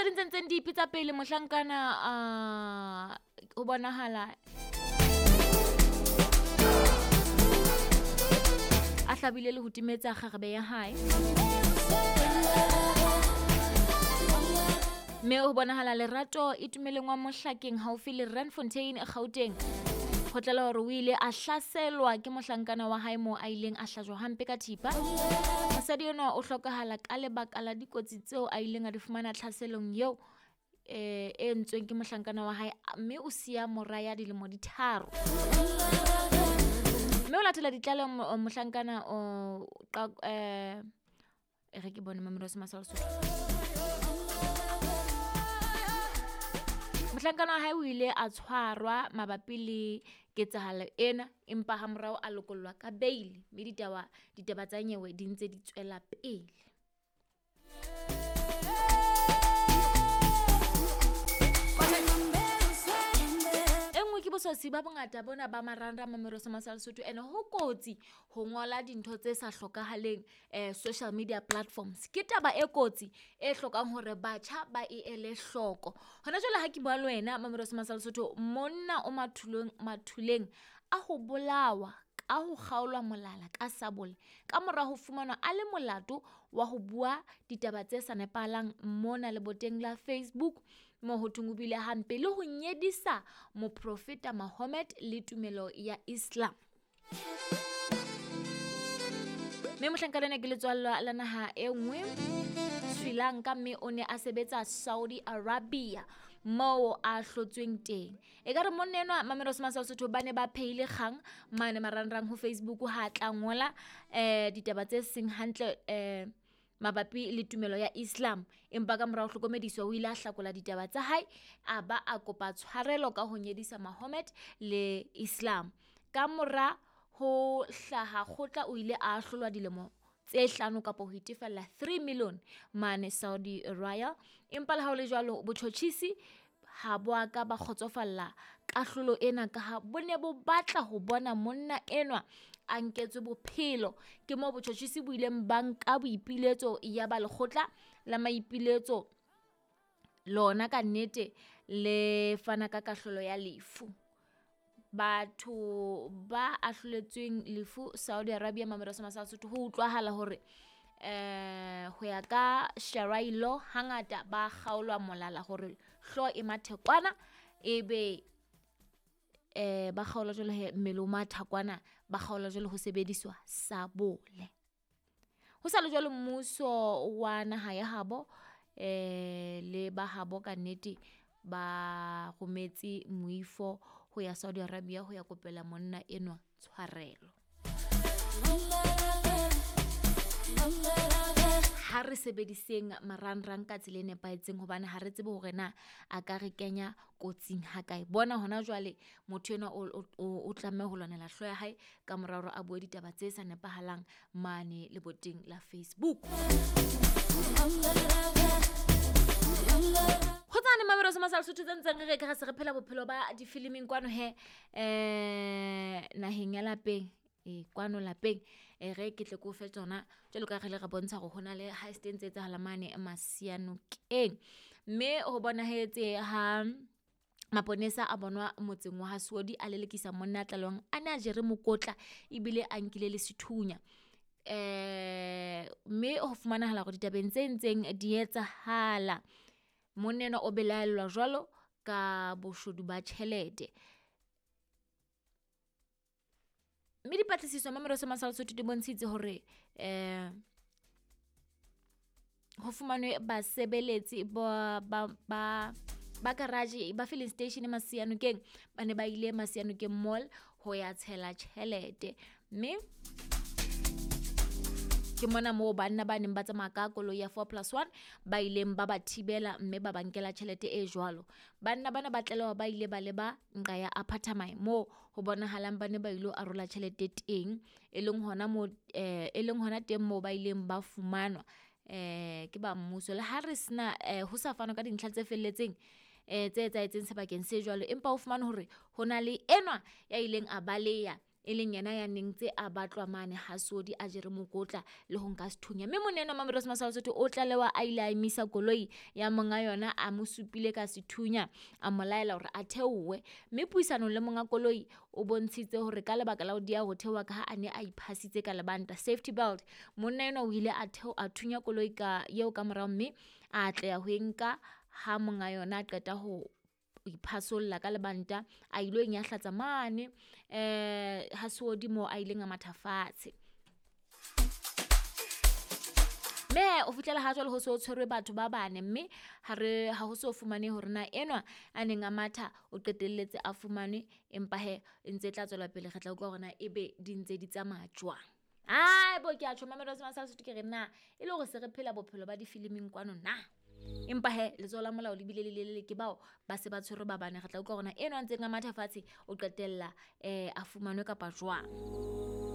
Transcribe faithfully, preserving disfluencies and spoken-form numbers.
Tse ding tse ntseng di ipitsa pele mohlankana a ho bonahala a hlabile le ho timetsa kgarebe ya hae. Mme ho bonahala Lerato e tumeleng wa Mohlakeng haufi le Randfontein Gauteng. Ho tlela hore o ile a hlaselwa ke mohlankana wa hae moo a ileng a hlajwa hampe ka thipa. Mosadi enwa o hlokahala ka lebaka la dikotsi tseo a ileng a di fumana tlhaselong eo eh e entsweng ke mohlankana wa hae, mme o siya mora ya dilemo di tharo. Mme o latela ditlaleho mohlankana o eh e re ke bone mamelo se masala Sotho. Mohlankana wa hae o ile a tshwarwa mabapi le ketsahalo ena, empa ha morao a lokollwa ka bail, mme ditaba ditaba tsa nyewe di ntse di tswela pele. E nngwe ke bososi ba bongata bona ba marangrang mamelo se masala Sotho, ene ho kotsi ho ngola dintho tse sa hlokahaleng eh social media platforms. Ke taba e kotsi e hlokang hore batjha ba e ele hloko. Hona jwale ha ke bua le wena mamelo se masala Sotho, monna o mathulong mathuleng a ho bolawa ka ho kgaolwa molala ka sabole ka mora ho fumanwa a le molato wa ho bua ditaba tse sa nepahalang mona leboteng la Facebook, moo ho thweng o buile hampe le ho nyedisa moprofeta Muhammad le tumelo ya Islam. Mme mohlankana ena ke letswalla la naha e nngwe Sri Lanka, mme o ne a sebetsa Saudi Arabia moo a hlotsweng teng. Ekare monna enwa mamelo se masala Sotho ba ne ba phehile kgang mane marangrang ho Facebook ha tla ngola eh ditaba tse seng hantle eh mabapi le tumelo ya Islam, empa ka morao hlokomediswa o ile a hlakola ditaba tsa hae a ba a kopa tshwarelo ka ho nyedisa Muhammad le Islam. Ka mora ho hlaha kgotla o ile a ahlolwa dilemo tse hlano kapa ho itefella three million mane Saudi Royal. Empa le ha ho le jwalo botjhotjhisi ha bo a ka ba kgotsofalla kahlolo ena ka ha bo ne bo batla ho bona monna enwa a nketswe bophelo. Ke moo botjhotjhisi bo ileng ba nka boipiletso ya ba lekgotla la maipiletso lona ka nnete le fana ka kahlolo ya lefu. Batho ba ahloletsweng lefu Saudi Arabia mamelo se masala Sotho ho utlwahala hore eh ho ya ka Sharia law hangata ba kgaolwa molala hore hlooho e mathe kwana, ebe eh ba kgaolwa jwalo he mmele o matha kwana, ba kgaolwa jwalo ho sebediswa sabole. Ho sa le jwalo mmuso wa naha ya habo eh le ba habo ka nnete ba rometse moifo ho ya Saudi Arabia ho ya kopela monna enwa tshwarelo. Ha re sebediseng marangrang ka tsela e nepahetseng hobane ha re tsebe hore na a ka re kenya kotsing ha kae. Bona hona jwale motho enwa o o tlameha ho lwanela hlooho ya hae ka mora hore a bue ditaba tse sa nepahalang mane leboteng la Facebook. Ho tsane mamelo se masala Sotho tse ntseng re re ka re se re phela bophelo ba difiliming kwano he eh naheng ya lapeng. E kwano lapeng e re ke tle ke o fe tsona jwalo ka re le re bontsha hore hona le heist e ntse etsahala mane Masianokeng. Mme ho bonahetse ha maponesa a bonwa motseng wa Hasodi a lelekisa monna a tlalehwang a ne a jere mokotla ebile a nkile le sethunya. Eh mme ho fumanahala hore ditabeng tse ntseng di etsahala monna enwa o belaellwa jwalo ka boshodu ba tjhelete. Mme dipatlisiso mamelo se masala Sotho di bontshitse hore eh ho fumanwe basebeletsi ba ba ba ba garage ba filling station Masianokeng ba ne ba ile Masianokeng Mall ho ya tshela tjhelete. Mme ke mona moo banna ba neng ba tsamaya ka koloi ya four plus one ba ileng ba ba thibela mme ba ba nkela tjhelete e jwalo. Banna bana ba tlaleha ba ile ba leba nqa ya Apartments moo ho bonahalang ba ne ba ilo arola tjhelete teng, e leng hona moo eh e leng hona teng moo ba ileng ba fumanwa eh ke ba mmuso. Le ha re sena eh ho sa fanwa ka dintlha tse felletseng eh tse etsahetseng sebakeng se jwalo, empa o fumane hore ho na le enwa ya ileng a baleya e leng yena ya neng tse a batlwa mane ha Sodi a jere mokotla le ho nka sethunya. Mme monna enwa Mamelodi Masala o tlalewa a ile a emisa koloi ya monga yona, a mo supile ka sethunya, a mo laela hore a theohe. Mme puisanong le monga koloi o bontshitse hore ka lebaka la ho dieha ho theoha ka ha a ne a iphasitse ka lebanta, safety belt, monna enwa o ile a a thunya koloi ka eo ka morao, mme a atleha ho e nka ha monga yona a qeta ho iphasolla ka lebanta, a ilo e nyahlatsa mane eh ha Seodi moo a ileng a matha fatshe. Mme o fihlela ha jwale ho so tshwerwe batho ba bane, mme ha re ha ho so fumane hore na enwa a neng a matha o qetelletse a fumanwe, empa hee e ntse e tla tswela pele, re tla utlwa hore na ebe di ntse di tsamaya jwang. Ai bo ke a tjho Mamelodi Masala Sotho, ke re na e le hore se re phela bophelo ba difiliming kwano na? Empa hee letsoho la molao le bile le lelele, ke bao ba se ba tshwerwe ba bane. Re tla utlwa hore na enwa a ntseng a matha fatshe o qetella eh a fumanwe kapa jwang.